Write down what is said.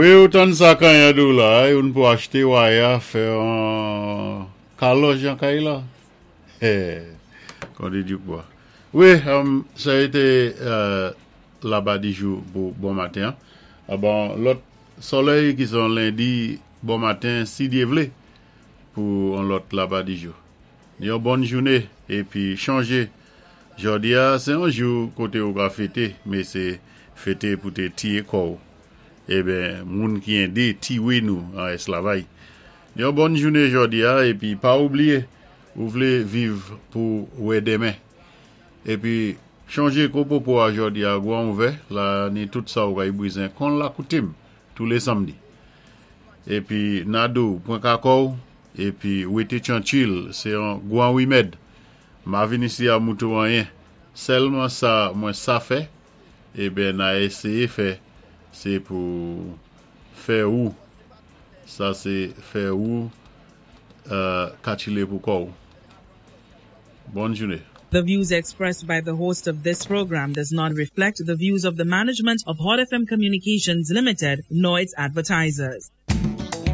Wi, ou tann sa kanyan dou la, youn pou achté waya fè an kalòj an kay la. Kon di Dukbois. Wi, sa été Laba Dijou pou bon maten. Ah bon, lòt solèy ki son lendi bon maten, si Dye vlé, pou an lòt Laba Dijou. Yon bòn jouné épi chonjé jòdi a sé yon jou koté ou ka fété, mé sé fété pou té tiyé kò'w. Eben, moun ki édé tiwé nou an esklavay. Yon bòn jouné jòdi a épi pa oubliyé ou vlé viv pou wè denmen. Épi chonjé Kopopo a jòdi a gwan ouvè la ni tout sa ou kay bizen kon lakoutim toulé samdi. Épi Nado pwan ka kò'w épi wété tranchil, sé yon gwan wimèd. Ma vin isi a moutou anyen. Sèlman sa mwen sa fè, eben na éséyé fè, sé pou fè ou. Sa sé fè ou katchilé pou kò'w. Bòn jouné. The views expressed by the host of this program does not reflect the views of the management of Hot FM Communications Limited nor its advertisers.